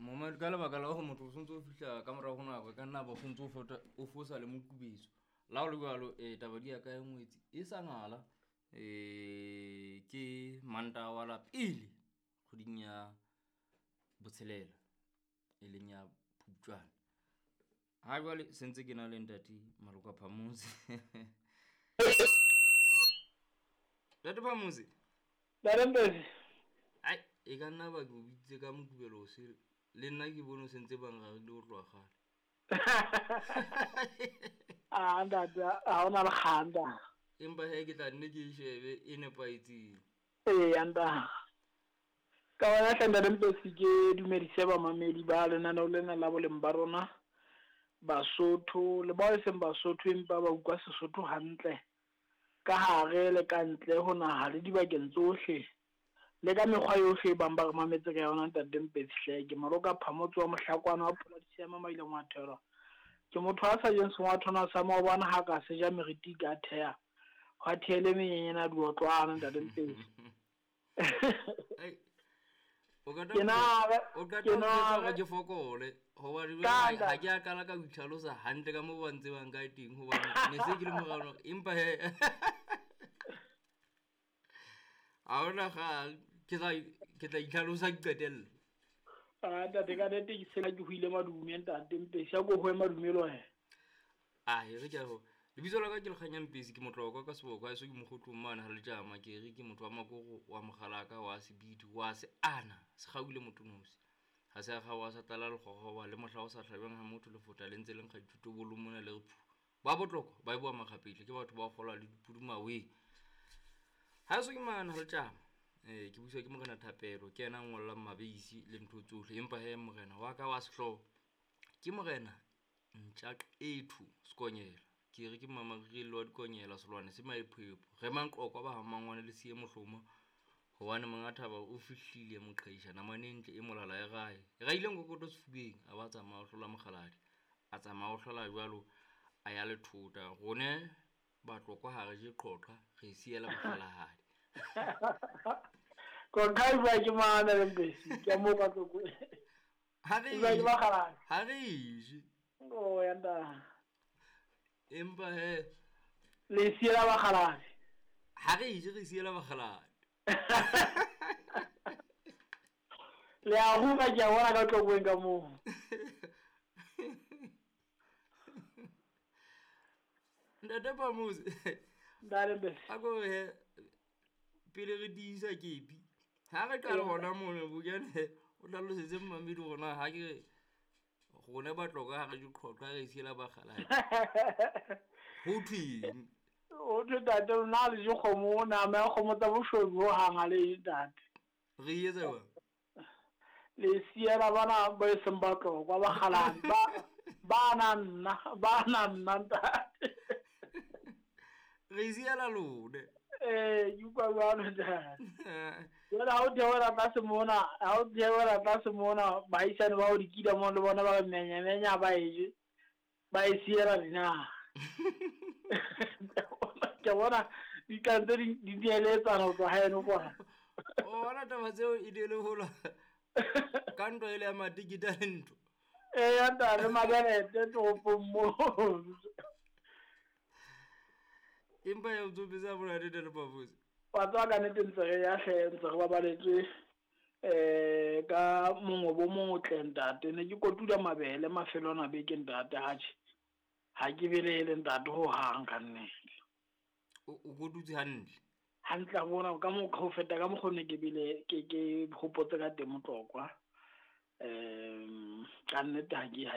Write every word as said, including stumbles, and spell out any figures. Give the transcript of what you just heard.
Momamedi, ka lebaka la hore motho o sontso o fihla ka morao ho nako, e ka nna ba o sontso o fota o fosa le mokubetso. Le ha ho le jwalo, eh taba di ya ka e ngwetsi e sa ngala. Eh ke Mantaha wa la pele kgweding ya botshelela, e leng ya Phupjane. Ha jwale se ntse ke na le ntate Maloka Phamotse. Ntate Phamotse. Ntate Mpesi. Ai, e ka nna ba ke o bitsitse ka Mokubelo o sele. Le nna ke bone o sentse ba nrarile ho tloha kgale. Ah, ntate, ha hona le kgang ntate. Empa he ke tla nne ke e shebe e nepahetseng. Eya ntate. Ka bona hle ntate Mpesi ke dumedise bamamedi ba lenaneo lena la boleng ba rona. Basotho le bao e seng Basotho empa ba utlwa Sesotho hantle. Ka hare le ka ntle ho naha le dibakeng tsohle. Le ka mekgwa yohle e bang ba re mametse ka yona ntate Mpesi hle. Ke Maloka Phamotse wa Mohlakwana wa Pholadisi ya Mamaileng wa Thelwa. Ke motho a sa jeng sengwathwana sa maobane ha ka se ja meriti ka theha. Hwa thehele menyenyana diotlwana ntate Mpesi. Ai. O ka Ke na o ka ke na hore ke fokole hobane Ka jwale ha ke a qala ka ho itlhalosa hantle ka moo ba ntsebang ka teng hobane ne se ke le morao empa he ha hona kgang ke tla ke tla itlhalosa ke qetelle. Ah, ntate ka nnete ke sena ke hoile madume ntate Mpesi, a ko hoe madume le wena. Ah, e re ke a ho. Lebitso la ka ke Lekganya Mpesi, ke motlokwa ka seboko, haeso ke mokgotlong mane ha letjama, ke re ke motho wa makoro, wa mokgalaka, wa sebidi, wa seana, sekgaule motonosi. Ha se a kgaoha sa tlala lekgokgoba le mohla o sa hlabeng ha motho lefota le ntse le nkga dithotobolo mona le re phu. Ba botlokwa ba eboa makgapetla ke batho ba kgolwa le dipudumaweng. Haeso ke mane ha letjama. Eh ke buswa ke Morena Thapelo, ke yena a ngollang mabeisi le ntho tsohle. Empa he morena wa ka wa sehlooho ke Morena Ntjaqethu Sekonyela. Ke re ke mamarirelo wa dikonyela selwane se maephoepho. Re manqokwa ba ha mmangwane le siye mohloma. Hobane monga thaba o fihlile moqheisha namane e ntle e molala e rae. E raile nkokoto sefubeng a ba tsamaya o hlola mokgaladi. A tsamaya o hlola jwalo a ya lethota. Rone batlokwa ha re je qhoqha re siela mokgalahadi. Qhoqha e bua ke mang ntate Mpesi? Ke mo ka Tlokwe. Ha re E bua ke bakgaladi. ha re je. Oh ya ntate. Empa he Le siela bakgaladi. Ha re je re siela bakgaladi. Le a ruka ke a bona ka Tlokweng ka moo. Ntate Phamotse. Ntate Mpesi. A ko he pele re tiisa kepi. Ha re qala hona mono bokene o hlalosetse mmamedi hore na ha ke rona batlokwa ha re je qhoqha re siela bakgaladi. Ho thweng? Ho thwe ntate lona ha le je kgomo, nama ya kgomo tsa boshodu ho hang ha le je ntate. Re e etsa jwang? Le siela bana ba e seng batlokwa bakgaladi ba ba na nna, ba na nna ntate. Re siela lone. Eh, ke utlwa jwalo ntate. Jwale ha o theohela tlase mona, ha o theohela tlase mona, baahisane ba o dikila moo le bona ba re menyamenya ba e je, ba e siela dinaha. Ke bona di tla ntse di di dieletsana ho tloha haeno kwana. O bona taba tseo e di le hola ka ntwa ele ya matikiti a le ntho. Eya ntate, mabelete toropong moo. Empa ya o tsopetse monate ntate Phamotse. Wa tseba ka nnete ntse re ya hle, ntse re babaletswe eh ka mongobo o motle ntate. Ne ke kotula mabele mafelo ana a beke ntate, atjhe ha ke belaele ntate hohang ka nnete. O o kotutse hantle. Hantle a bona ka mokgwa ho feta ka mokgwa ne ke bile ke ke hopotse ka teng Motlokwa. Um ka nnete ha ke ha